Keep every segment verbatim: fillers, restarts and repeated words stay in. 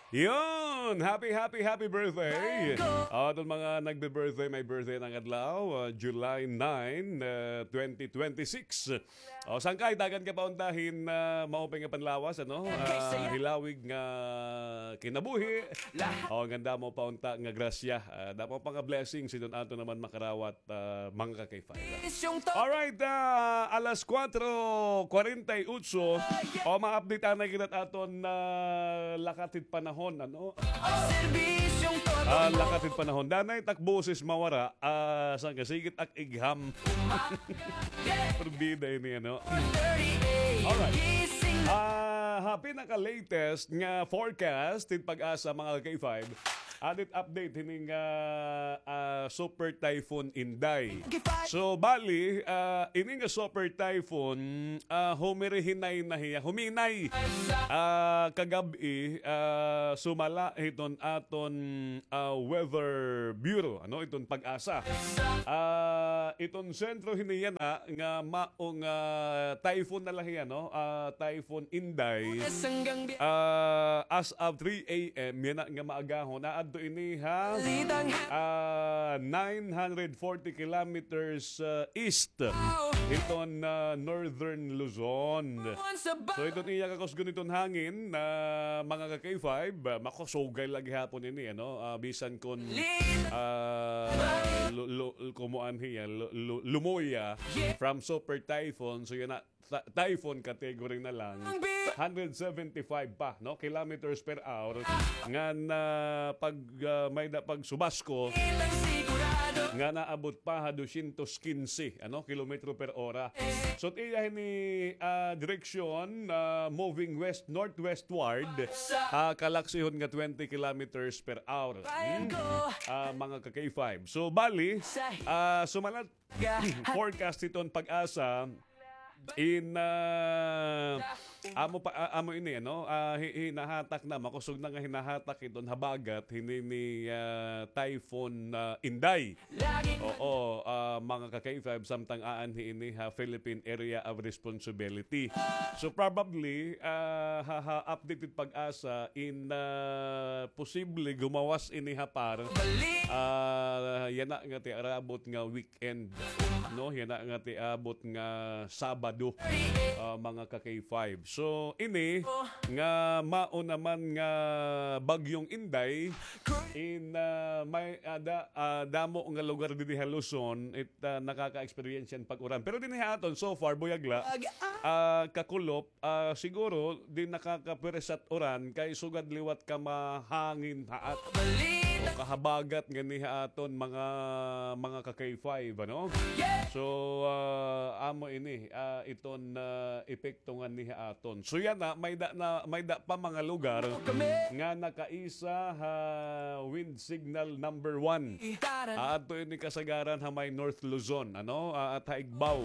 Yun! Happy, happy, happy birthday! Aton mga nagbe-birthday, may birthday na nga adlaw, ah, July nine, ah, twenty twenty-six. O, sangkay, dagan ka pa unta hin, ah, maupay nga panlawas, ano? Ah, hilawig nga kinabuhi. O, nganda mo pa unta nga grasya. Ah, damo pa nga blessings iton aton naman makarawat, ah, mga ka-K five. Alright, ah, alas kuwatro kuwarenta y otso. O, ma-update anay kita aton, ah, lakat hit panahon, ano? Ah, lakat hit panahon. Danay tak boses mawara, ah, sangkay, sige it ak igham. Pero bida ini, ano? Alright. Ah, ha pinaka-latest nga forecast hit PAGASA, mga ka-K five, aton it update hini nga, ah, Super Typhoon Inday. So, bali, ah, ini nga Super Typhoon, ah, humirihinay na hiya, huminay. Ah, kagab-i, ah, sumala hiton aton, ah, Weather Bureau, ano, iton PAGASA. Ah, iton sentro hini yana nga maong, ah, typhoon na la hiya, no? Ah, Typhoon Inday. Ah, as of three a m, yana nga maagahon, naadto ini ha, ah, nine hundred forty kilometers, ah, east hiton, ah, northern Luzon. So, iton iya kakusgon iton hangin, ah, mga ka-K five, ah, makusugay la gihapon ini, ano? Ah, bisan kon, ah, lu-, lu-, kumuan hiya, lu-, lu-, lumuya from super typhoon. So, yana, ty-, typhoon category na lang, hundred seventy-five pa, no, kilometers per hour. Ngan, ah, pag, ah, may-ada pagsubasko, nga naabot pa ha dosyentos kinse, ano, kilometro per ora. So, it iya hini, ah, direksyon, ah, moving west, northwestward, ha kalaksihon nga twenty kilometers per hour. Hmm? Ah, mga ka-K five. So, bali, ah, sumalat forecast hiton PAGASA in, ah, amo pa, ah, amo ini, ano? Ah, hi-, hinahatak na, makusog na nga hinahatak hiton habagat hini ni, ah, Typhoon, ah, Inday. Oo, ah, mga ka-K five, samtang aanhi ini ha Philippine Area of Responsibility. So, probably, ah, ha, ha update hit PAGASA in, ah, posible gumawas ini ha par. Ah, yana nga it iarabot nga week end, no? Yana nga it iabot nga Sabado, ah, mga ka-K five. So, ini nga mao naman nga Bagyong Inday, in, ah, may, ah, da-, ah, damo nga lugar dinhi ha Luzon, it, ah, nakaka-experience hin pag-uran. Pero dinhi ha aton, so far, buyag la, ah, kakulop, ah, siguro, di nakakapirisat uran kay sugad liwat ka mahangin haat o kahabagat nganhi ha aton mga, mga ka-K five, ano? So, ah, amo ini, ah, iton, ah, epekto nganhi ha aton. So, yana, may-ada na, may-ada pa mga lugar nga nakaisa ha wind signal number one. Aadto ini kasagaran ha may North Luzon, ano? Ah, at ha Igbaw.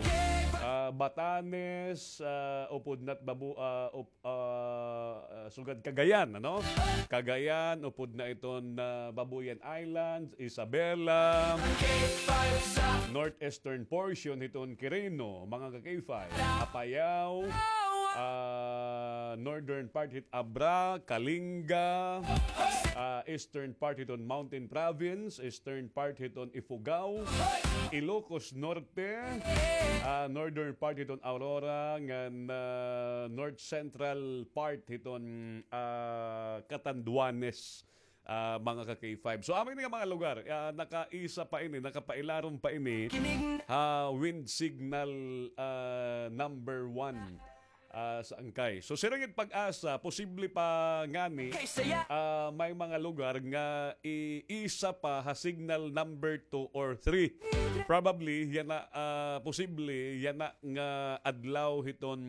Ah, Batanes, ah, upod na it Babu-, ah, up-, ah, ah, sugad Cagayan, ano? Cagayan, upod na iton, ah, Babuyan Islands, Isabela, northeastern portion hiton Quirino, mga ka-K five, Apayao, ah, northern part hit Abra, Kalinga, ah, eastern part hiton Mountain Province, eastern part hiton Ifugao, Ilocos Norte, ah, northern part hiton Aurora, ngan, ah, north central part hiton, ah, Catanduanes, ah, mga ka-K five. So, amo ini nga mga lugar, ah, nakaisa pa ini, nakapailarom pa ini ha wind signal, ah, number one. Ah, sa angkay. So, siring it PAGASA, posible pa ngani, ah, may mga lugar nga iisa pa ha signal number two or three. Probably, yana, ah, posible, yana nga adlaw hiton,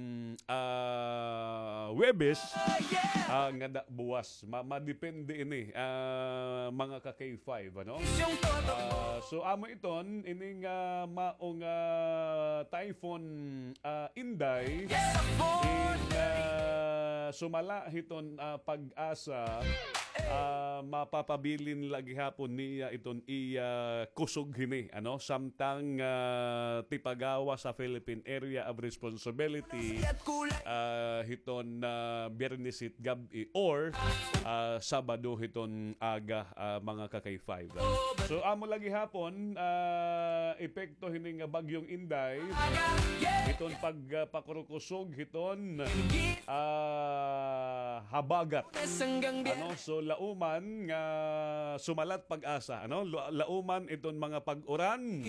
ah, Huwebes, ah, ngada buwas. Ma-, madepende ini, ah, mga ka-K five, ano? Ah, so, amo iton, ini nga mao nga Typhoon, ah, Inday, in, ah, sumala hiton, ah, PAGASA, ah, mapapabilin la gihapon niya iton iya kusog hini, ano, samtang, ah, tipagawas ha Philippine Area of Responsibility, ah, hiton, ah, Biyernes hit gab-i or, ah, Sabado hiton aga, ah, mga ka-K five. So, amo la gihapon, ah, epekto hini nga Bagyong Inday, hiton pag, ah, pakurukusog hiton, ah, habagat. Ano, so, lauman nga sumalat pag-asa, ano, lu-, lauman iton mga pag-uran.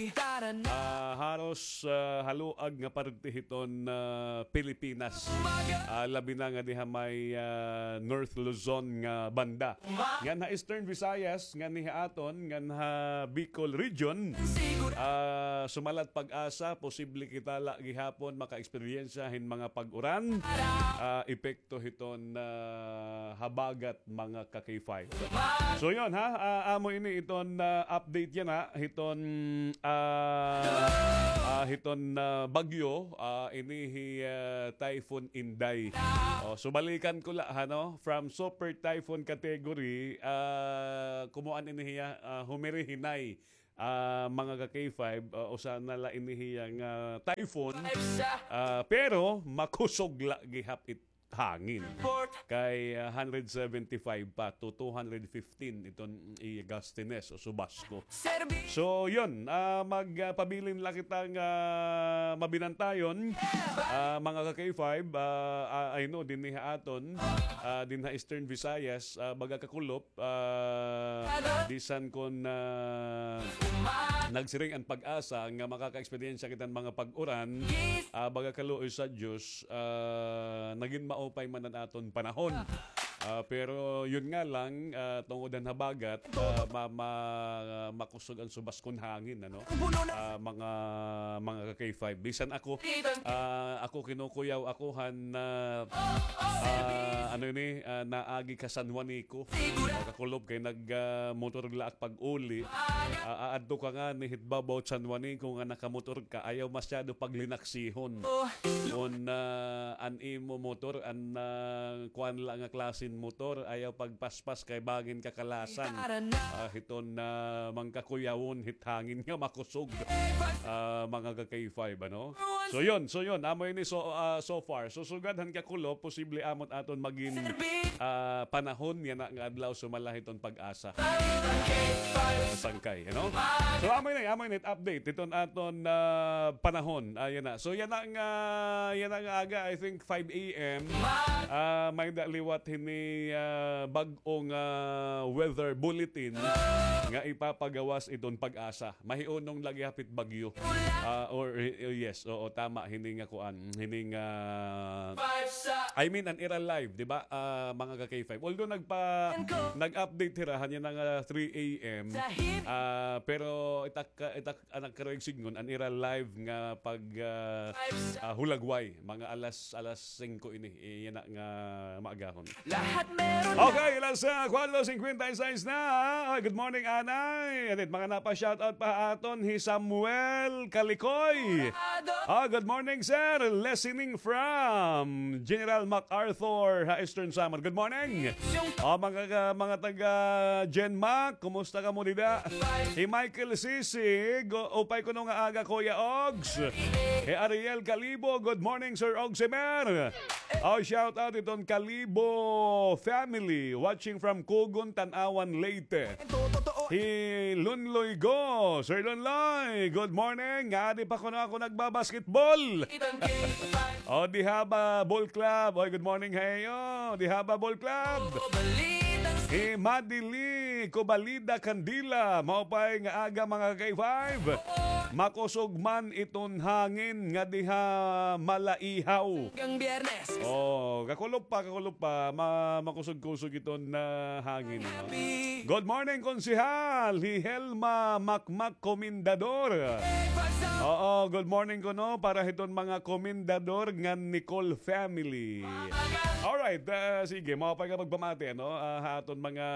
Ah, haros, ah, haluag nga parte hiton, ah, Pilipinas. Ah, labi na nga diha may, ah, North Luzon nga banda. Ngan ha Eastern Visayas, ngan ha aton, ngan ha Bicol Region, ah, sumalat pag-asa, posible kita la gihapon maka-eksperyensya hin mga pag-uran, ah, epekto hiton, ah, habagat mga ka-K five. So yun ha, ah, amo ini iton, ah, update yana, hiton, ah, ah, hiton, ah, bagyo, ah, ini hi, ah, Typhoon Inday. Oh, so balikan ko la, ha, no? From Super Typhoon category, ah, kumuan ini hiya, ah, humirihinay, ah, mga ka-K five, ah, usa na la ini hiya nga typhoon. Ah, pero makusog la gihap it hangin. Kay, ah, hundred seventy-five pa to two hundred fifteen iton i-gustiness o subasko. So, yun, ah, mag, ah, pabilin la kita nga mabinantayon, ah, mga ka-K five, ah, ah, I know, dinhi ha aton, ah, dinhi ha Eastern Visayas, ah, baga kakulop, ah, bisan kon, ah, nagsiring an PAGASA nga makaka-eksperyensya kita hin mga pag-uran, ah, baga kaluoy sa Diyos, ah, nagin maupay man an aton panahon. Ah, pero yun nga lang, ah, tungod han habagat, ah, ma-, ma-, makusog an subaskon hangin, ano? Ah, mga, mga ka-K five. Bisan ako, ah, ako kinukuyaw ako han, ah, ah, ano ini, ah, naagi ka San Juanico. Ah, kakulop kay nag, ah, motor la ak pag-uli. Ah, aadto ka ngani hit babaw San Juanico nga nakamotor ka, ayaw masyado paglinaksihon. Kon, ah, an imo motor, an, ah, kuan la nga klasen motor, ayaw pagpaspas kay bangin kakalasan. Ah, hiton, ah, mangkakuyawon hit hangin nga makusog. Ah, mga ka-K five, ano? So yun, so yun, amo ini so, ah, so far. So sugad han kakulop, posible amot aton magin, ah, panahon yana nga adlaw sumala hiton PAGASA. Sangkay, ano? So, amo ini, amo ini, update hiton aton, ah, panahon. Ah, yana. So, yana nga, yana nga aga, I think five A M, ah, may-ada liwat hini, ah, bag-ong, ah, weather bulletin nga ipapagawas hiton PAGASA. Mahiunong la gihap hit bagyo. Ah, or, eh, yes, oo, tama, hini nga kuan, hini nga, I mean, an ira live, di ba? Ah, mga ka-K five. Although nagpa-, nag-update hira han yana nga three A M, ah, pero itak, itak, an ak karuyag sidngon, an ira live nga pag, ah, ah, hulagway, mga alas, alas singko ini, eh, yana nga maagahon. Okay, alas, ah, kuatro singkwenta y seis na. Ay, good morning, Anay. Atit, mga napa-shoutout pa aton, hi Samuel Kalikoy. Ah, good morning, sir. Listening from General MacArthur, ha Eastern Samar. Good morning. Ah, mga, mga taga Gen Mac, kumusta kamo dida? Hi Michael Sisig, upay kuno nga aga, Kuya Ogs. Hi Ariel Calibo, good morning, Sir Ogsimer. Oh, shout out iton Calibo family watching from Cogon, Tanauan, Leyte. Hi Lunloy Go, Sir Lunloy, good morning. Adi pa kuno ako nagbabasketball. O, Dihaba Ball Club. Oy, good morning ha iyo, Dihaba Ball Club. Hi Madili Cobalida Candila, maupay nga aga, mga ka-K five. Makusog man iton hangin nga diha Malaihaw. Hanggang Biyernes. Oh, kakulop pa, kakulop pa. Ma-, makusog-kusog iton hangin, no? Good morning, Konsehal. Hi Helma Makmak, Komendador. Oo, good morning kuno para hiton mga Komendador ngan Nicole family. Alright, ah, sige, maupay nga pagpamati, ano, ah, ha aton mga,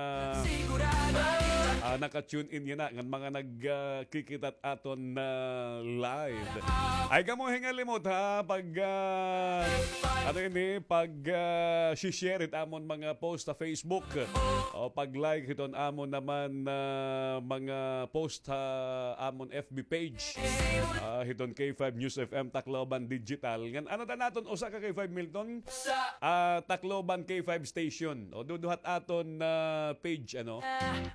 ah, naka-tune in yana, ngan mga nag, ah, kikita hit aton, ah, ah, live. Ay, kamo hingalimot, ha, pag, ah, ano ini, pag, ah, share it amon mga post sa Facebook. O pag-like hiton amon naman, ah, mga post ha amon F B page. Ah, hiton K five News F M Tacloban Digital. Ngan, ano ta naton, usa ka K five, Milton? Ah, Tacloban K five Station. O, duduhat aton, ah, page, ano?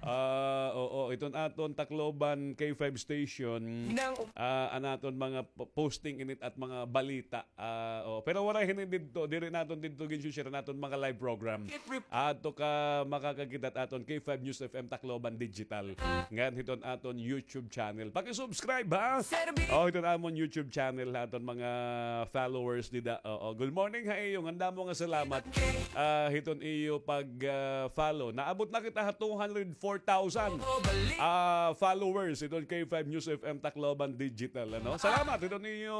Ah, oo, iton aton Tacloban K five Station. Ah, an aton mga p-, posting init at mga balita. Ah, o, pero waray hini didto, diri naton didto gin-share an aton mga live program. Ato ka makakakita aton K five News F M Tacloban Digital. Ngan hiton aton YouTube channel. Paki-subscribe, ha? O, hiton amon YouTube channel, ha, aton mga followers dida. Oo, good morning ha iyo. Ngan damo nga salamat, ah, hiton iyo pag, ah, follow. Naabot na kita ha two hundred four thousand, ah, followers hiton K five News F M Tacloban Digital, ano? Salamat hiton iyo,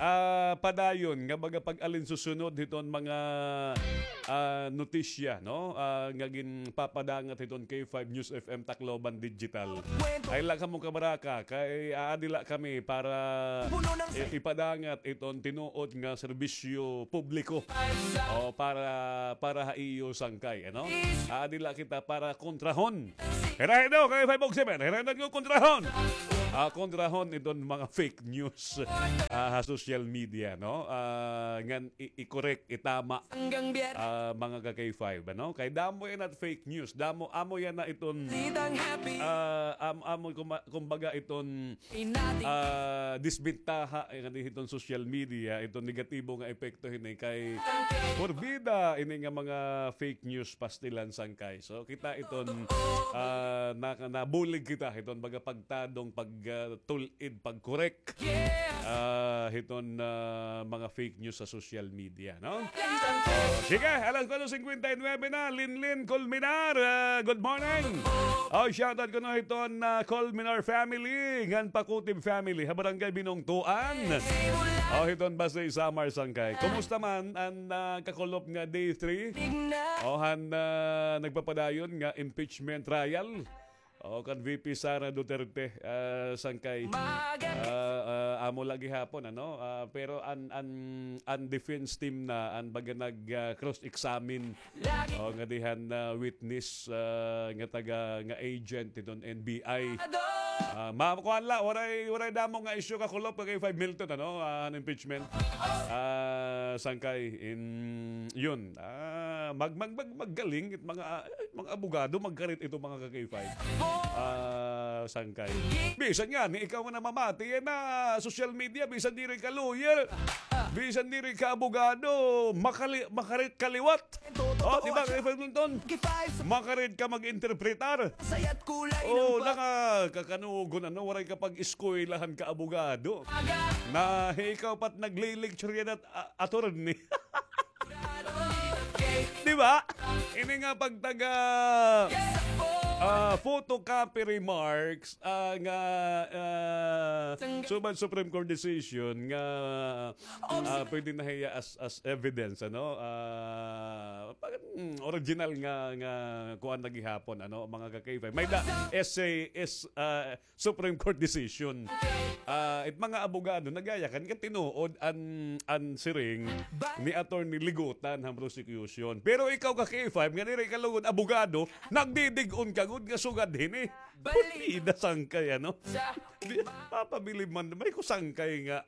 ah, padayon nga baga pag-alinsusunod hiton mga, ah, notisya, no? Ah, nga ginpapadangat hiton K five News F M Tacloban Digital. Ay la kamo kabaraka, kay aadi la kami para i-, ipadangat iton tinuod nga serbisyo publiko. O, para, para ha iyo sangkay, ano? Aadi la kita para kontrahon. Hirahin daw, kay five oh seven. Hirahin daw kontrahon. Ah, kontrahon iton mga fake news, ah, ha social media, no? Ah, ngan i-, i-correct, itama, ah, mga ka-K five, ano? Kay damo yana fake news, damo, amo yana iton, ah, am-, amo kuma-, kumbaga iton, ah, disbentaha, eh, nga hiton social media, iton negatibo nga epekto hini kay porbida ini nga mga fake news, pastilan, sangkay. So, kita iton, ah, na-, nabulig kita iton baga pagtadong, pag, ah, tul-id, pag-correct, ah, hiton, ah, mga fake news sa social media, no? O, sige, alas kuwatro singkwenta y nuwebe na, Linlin Colmenar, ah, good morning. O, shoutout kuno hiton, ah, Colmenar family, ngan Pakutib family, ha Barangay Binongtuan. O, hiton Basey, Samar, sangkay. Kumusta man an, ah, kakulop nga day three? O, han, ah, nagpapadayon nga impeachment trial. O, kan V P Sara Duterte, ah, sangkay. Ah, ah, amo la gihapon, ano? Ah, pero an, an, an defense team na, an baga nag, ah, cross-examine. O, ngadi han, ah, witness, ah, nga taga, nga agent hiton N B I. Ah, ma-, kuan la, waray, waray damo nga issue kakulop kay five Milton, ano? Ah, an impeachment. Ah, sangkay in, yun. Ah, mag-, mag-, mag-, maggaling it mga, ah, mga abogado, magkarit ito, mga ka-K five. Ah, sangkay. Bisan ngani, ikaw nga namamati yana social media, bisan diri ka lawyer, bisan diri ka abogado, makali-, makarit ka liwat. O, di ba, ka-K five Milton? Makarit ka mag-interpretar. O, nakakakanugon, ano, waray ka pag-eskwelahan ka abogado. Na, ikaw pa't nagli-lecture yana, a-, attorney. Di ba? Ini nga pagtaga, ah, photocopy remarks, ah, nga, ah, subad Supreme Court decision nga, ah, pwede na hiya as, as evidence, ano? Ah, pag, mm, original nga, nga kuan na gihapon, ano, mga ka-K five. May da, essay is, ah, Supreme Court decision. Ah, it mga abogado, nagyayakan nga tinuod an, an siring ni Attorney Ligutan han prosecution. Pero ikaw ka-K five, nga diri ka lugod abogado, nagdidig-on ka gud nga sugad hini. Putida sangkay, ano? Di, mapabilib man, may ko sangkay nga.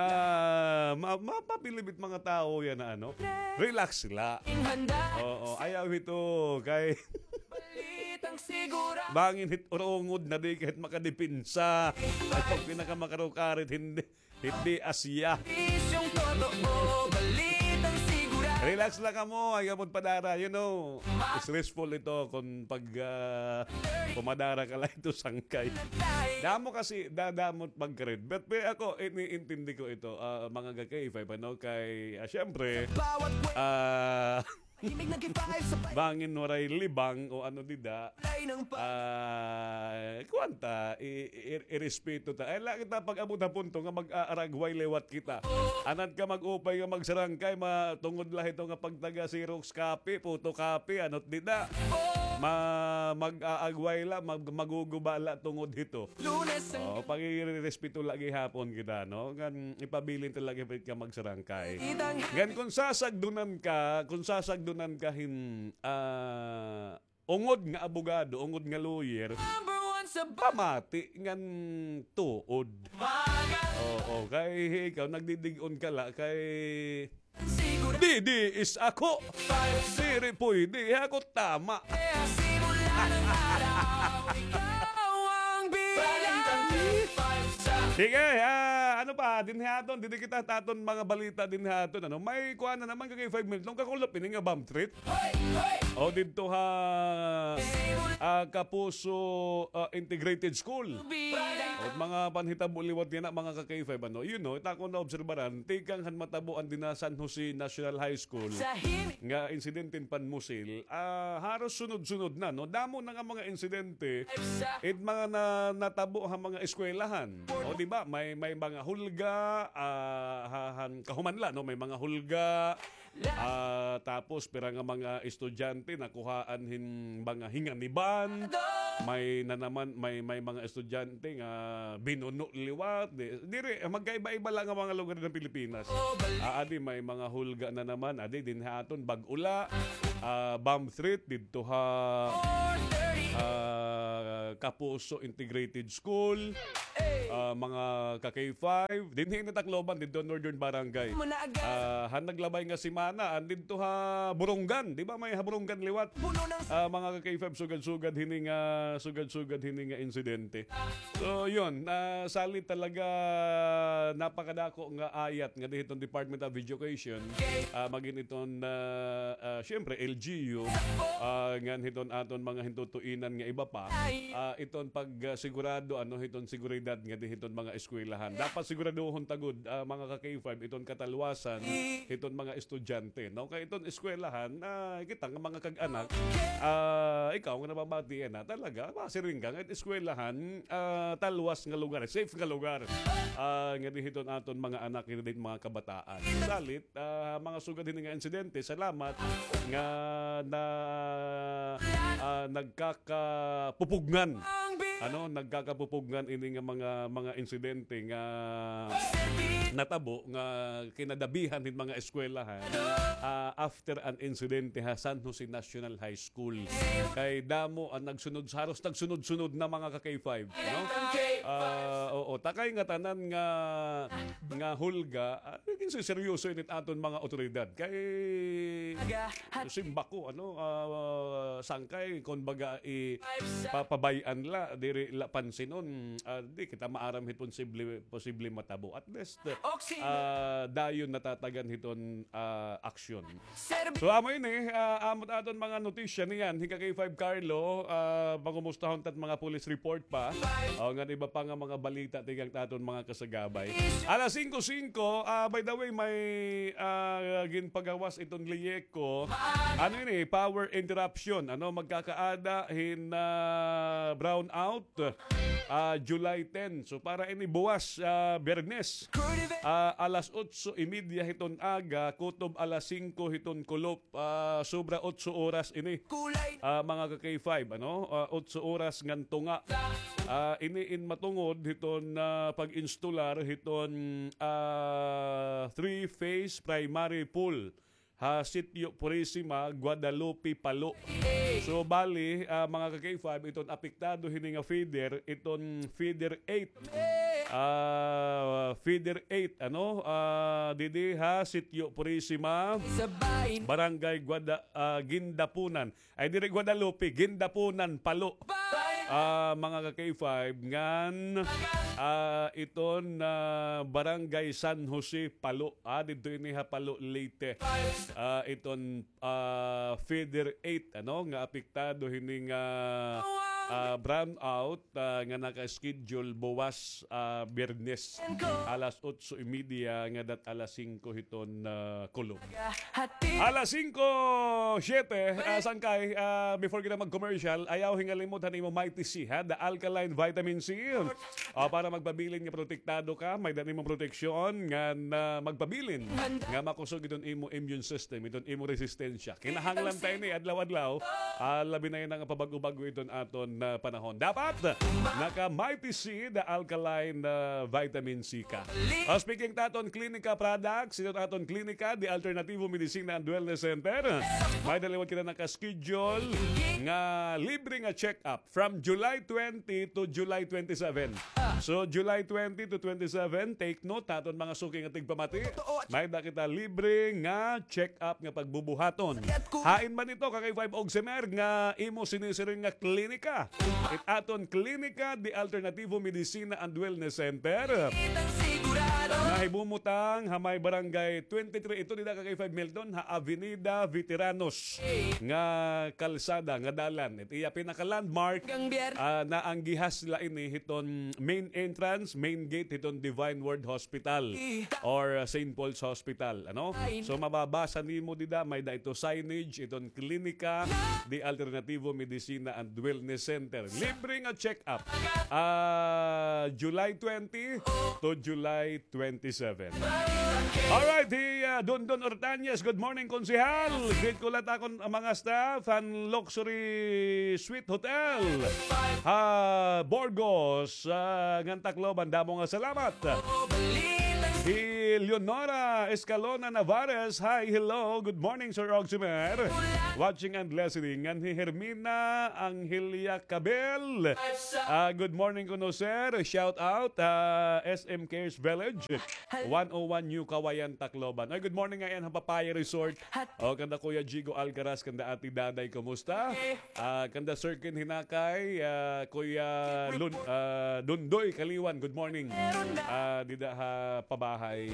Ah, ma-, mapabilib it mga tawo yana, ano? Relax sila. Oo, ayaw hito, kay Bangin hit urungod na di kahit makadepensa. Ay, pag pinakamakarukarit, hindi, hindi asya. Relax la kamo, ayaw pod padara, you know. Stressful ito kung pag, ah, pumadara ka la ito sangkay. Damo kasi, da-, damo pagkarit. But, pero ako, iniintindi ko ito, ah, mga ka-K five, ano, kay, ah, syempre, ah, bangin waray libang o ano dida. Ah, kuan ta, i-, i-, irespeto ta. Ay, la kita pag-abot ha punto nga mag-aaragway liwat kita. Anad ka mag-upay nga magsarangkay, ma-, tungod la hito nga pagtaga Xerox copy, photocopy, ano't dida. Ma-, mag-aagway la, mag-, maguguba la tungod hito. Lunes ang Oh, pagre-respeto la gihapon kita, no? Ngan ipabilin ta la gihapon ka magsarangkay. Ngan kung sasagdunan ka, kung sasagdunan ka hin, ah, ungod nga abogado, ungod nga lawyer, Number one sa ba- pamati ngan tuod. Maga- Oo, kay ikaw, nagdidig-on ka la, kay Siguro Didi is ako. Diri pwede, ako tama. Kaya simula ng araw, ikaw ang bida. Sige, ah, ano pa, dinhi aton, didi kita ha aton mga balita dinhi aton, ano, may kuan na naman ka K five minutes, nung kakulop ini nga bomb threat. Hoy! Hoy! O didto ha, ah, Kapuso, ah, Integrated School. Bida. O mga panhitabo liwat niyan, mga ka K five, ano, you know, ita ko naobserbaran, tikang han matabo an dinha San Jose National High School Sa him- nga insidente hin panmusil, ah, haros sunod-sunod na, no? Damo na nga mga insidente, Sa it mga na, natabo ha mga eskwelahan. O, di ba? May, may mga hulga, ah, ha, han kahuman la, no? May mga hulga, Ah, tapos pira nga mga estudyante nakuhaan hin mga hinganiban. May na naman, may, may mga estudyante nga binuno liwat. Di, diri, magkaiba-iba la nga mga lugar ng Pilipinas. Ah, adi, may mga hulga na naman. Adi, dinhi ha aton, bag-o la, ah, bomb threat didto ha, ah, Kapuso Integrated School. Ah, mga ka K five, dinhi ini Tacloban, didto Northern Barangay. Muna agad. Ah, han naglabay nga semana, an didto ha Borongan, di ba may ha Borongan liwat? Puno ng Ah, mga ka K five, sugad-sugad hini nga, sugad-sugad hini nga insidente. So, yun, ah, salit talaga, napakadako nga ayat nga dinhi hiton Department of Education, ah, magin hiton, ah, ah, syempre, L G U, ah, ngan hiton aton mga hintutuinan nga iba pa, ah, iton pag, ah, sigurado, ano, hiton seguridad nga dinhi hiton mga eskwelahan. Dapat siguraduhon ta gud, ah, mga ka K five, iton katalwasan hiton mga estudyante, no? Kay iton eskwelahan, ah, kita nga mga kag-anak, ah, ikaw nga nababatian na, talaga, masiring ka nga eskwelahan, ah, talwas nga lugar, safe nga lugar, ah, nga dinhi hiton aton mga anak, nga dinhi hiton mga kabataan. Salit, ah, mga sugad hini nga insidente, salamat nga na, ah, nagkakapupugngan. Ano, nagkakapupugngan ini nga mga, mga insidente nga natabo nga kinadabihan hin mga eskwelahan, ah, after an insidente ha San Jose National High School. Kay damo an nagsunod, haros nagsunod-sunod na, mga ka K five, no? Ah, oo, takay nga tanan nga, nga hulga, ah, naging seryoso init aton mga otoridad. Kay simba ko, ano, ah, sangkay, kon baga, i-, papabay-an la, diri la pansinon, ah, di kita maaram hit posible, posible matabo. At least, ah, dayon natatagan hiton, ah, aksyon. So, amo ini, ah, amo it aton mga notisya niyan, hi ka K five Carlo, ah, pangumustahon ta it mga police report pa. O, ngan iba pa nga mga balita tikang it aton mga kasagabay. Alas singko singko, ah, by the way, may, ah, ginpagawas iton LIECO. Ano ini? Power interruption. Ano, magkakaada hin, ah, brownout, ah, July ten. So, para ini buwas, ah, Biyernes, ah, alas otso y media hiton aga, kutob alas singko hiton kulop, ah, sobra otso oras ini. Ah, mga ka K five, ano? Ah, otso oras ngan tunga. Ah, ini in matungod hiton, ah, pag-instalar hiton, ah, three-phase primary pool ha Sitio Purisima, Guadalupe, Palo. So, bali, ah, mga ka K five, iton apektado hini nga feeder, iton feeder eight. Ah, feeder eight, ano? Ah, didi ha Sitio Purisima, Barangay Guada-, ah, Gindapunan. Ay, diri Guadalupe, Gindapunan, Palo. Ah, mga ka K five, ngan, ah, iton, ah, Barangay San Jose, Palo. Ah, didto ini ha Palo, Leyte. Ah, iton, ah, feeder eight, ano, nga apektado hini nga ah, brownout, ah, nga naka-schedule buwas, ah, Biyernes, alas otso y media ngadat alas singko hiton, ah, kulop. Alas singko siyete, ah, sangkay, ah, before kita mag-commercial, ayaw hingalimot han imo Mighty C, ha? The Alkaline Vitamin C. Ah, para magpabilin nga protektado ka, may-ada nimo proteksyon nga na magpabilin nga makusog iton imo immune system, iton imo resistensya. Kinahanglan ta ini adlaw-adlaw, ah, labi na yana nga pabag-o-bag-o iton aton, ah, panahon. Dapat naka Mighty C, the alkaline, ah, vitamin C ka. Ah, speaking ta aton Klinika products, iton aton Klinika, the Alternativo Medicina and Wellness Center. May-ada liwat kita naka-schedule nga libre nga check-up from July twenty to July twenty-seven. So, July twenty to twenty-seven, take note, ha aton mga suki nga tigpamati, may-ada kita libre nga check-up nga pagbubuhaton. Hain man ito, Kakay Five Ogsemer, nga imo sinisiring nga klinika? It aton Klinika de Alternativo Medicina and Wellness Center. Nahibumutang ha may barangay twenty-three. Ito dida, Kakay Five Milton, ha Avenida Veteranos nga kalsada, nga dalan. It iya pinaka-landmark, ah, naanggihas la ini hiton main entrance, main gate hiton Divine Word Hospital or, ah, Saint Paul's Hospital, ano? So, mababasa nimo dida, may-ada ito signage, iton Klinika de Alternativo Medicina and Wellness Center. Libre nga check-up. Ah, July twenty to July twenty-seven. Alright, hi, ah, Dondon Ortañez. Good morning, Konsehal. Greet ko la it akon, ah, mga staff han Luxury Suite Hotel ha Burgos, ah, ngan Tacloban. Damo nga salamat. Hi Leonora Escalona Navarez. Hi, hello. Good morning, Sir Ogsimer. Watching and listening. Ngan hi Hermina Angelia Cabel. Ah, good morning kuno, sir. Shout out, ah, S M Cares Village, one oh one New Kawayan, Tacloban. Ay, good morning nga yana ha Papaya Resort. O, kanda Kuya Jigo Alcaraz, kanda Ate Daday, kumusta? Ah, kanda Sir Ken Hinakay, ah, Kuya Lun-, ah, Dundoy Kaliwan, good morning. Ah, dida ha pabahay.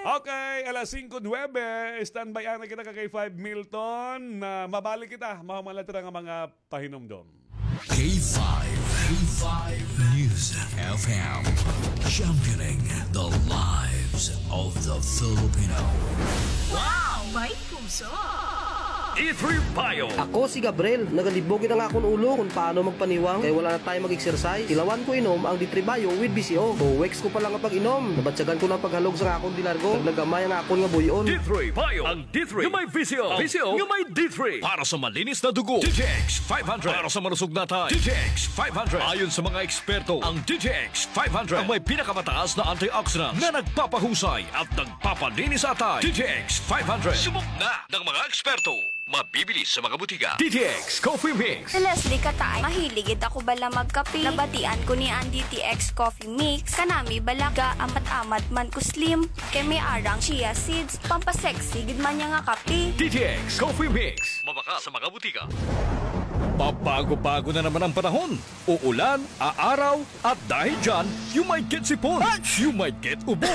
Okay, alas singko nuwebe, standby anay kita, Kakay Five Milton. Ah, mabalik kita, mahuman la tira nga mga pahinumdom. K five, K five News F M, championing the lives of the Filipino. Wow! May puso! D three Bio. Ako si Gabriel. Nagalibog gid an akon ulo kon paano magpaniwang kay wala na tayo mag-exercise. Tilawan ko inom ang D three Bio with B C O. Two weeks ko pa lang nga pag-inom, nabatyagan ko na an paghalog sa akon de largo. Naglagamay ang akon nga buy-on. D three Bio. Ang D three nga may V C O. V C O nga may D three. Para sa malinis na dugo, D T X five hundred. Para sa malusog na atay, D T X five hundred. Ayon sa mga eksperto, ang D T X five hundred ang may pinakamataas na antioxidants na nagpapahusay at nagpapalinis sa atay. D T X five hundred. Subok na ng mga eksperto. Mabibili sa mga butika. D T X Coffee Mix. Si Leslie Kataay, mahilig gid ako bala magkape. Nabatian ko niya an D T X Coffee Mix. Kanami bala gaamat-amat man ko slim. Kay may-ada nga chia seeds. Pampasexy gid man niya nga kape. D T X Coffee Mix. Mabakal sa mga butika. Pabago-bago na naman ang panahon. Uulan, aaraw, at dahil dyan, you might get sipon, you might get ubo,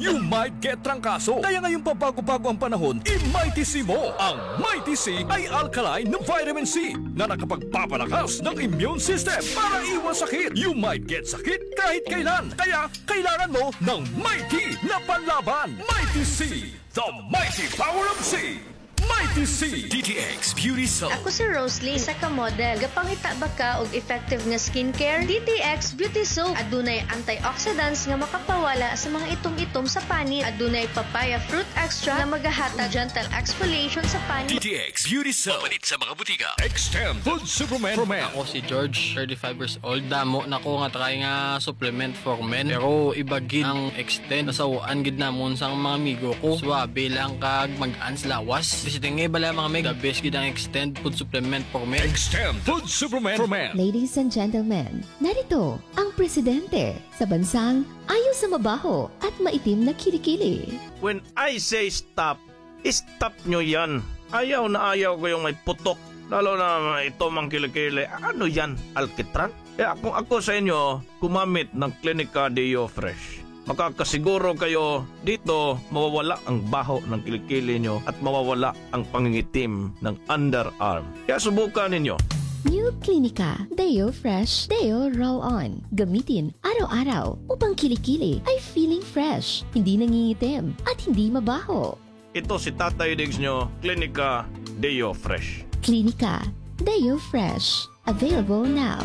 you might get trangkaso. Kaya ngayong pabago-bago ang panahon, i-Mighty C mo. Ang Mighty C ay alkaline na vitamin C na nakapagpapalakas ng immune system para iwas sakit. You might get sakit kahit kailan. Kaya kailangan mo ng Mighty na panlaban. Mighty C, the mighty power of C. Mighty C. D T X Beauty Soap. Ako si Rosalie, isa ka model. Gapangita ba ka og effective nga skincare? D T X Beauty Soap. Adunay antioxidants nga makapawala sa mga itom-itom sa panit. Adunay papaya fruit extract nga magahatag gentle exfoliation sa panit. D T X Beauty Soap. Mapalit sa mga butika. Extend Food Supplement for Men. Ako si George, thirty-five years old. Damo na ko nga try nga supplement for men. Pero iba gid ang Extend. Nasaw-an gid namon sang mga amigo ko. Suabe lang kag mag-ans lawas. Basta nga bala mga meg, the best gid ang Extend food supplement for men. Extend food supplement for men. Ladies and gentlemen, narito ang presidente sa bansang ayaw sa mabaho at maitim na kilikili. When I say stop, stop nyo yan. Ayaw na ayaw ko yung may putok. Lalo na ito mang kilikili. Ano yan? Alkitran? Kaya kung ako sa inyo, gumamit ng Clinica Deo Fresh. Makakasiguro kayo dito mawawala ang baho ng kilikili nyo at mawawala ang pangingitim ng underarm. Kaya subukan ninyo. New Clinica Deo Fresh Deo Roll-On. Gamitin araw-araw upang kilikili ay feeling fresh, hindi nangingitim, at hindi mabaho. Ito si Tatay Diggs nyo, Klinika Deo Fresh. Klinika Deo Fresh. Available now.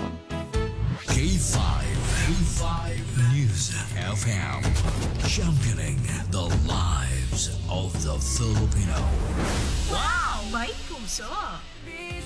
K five, K five News F M, championing the lives of the Filipino. Wow! May puso!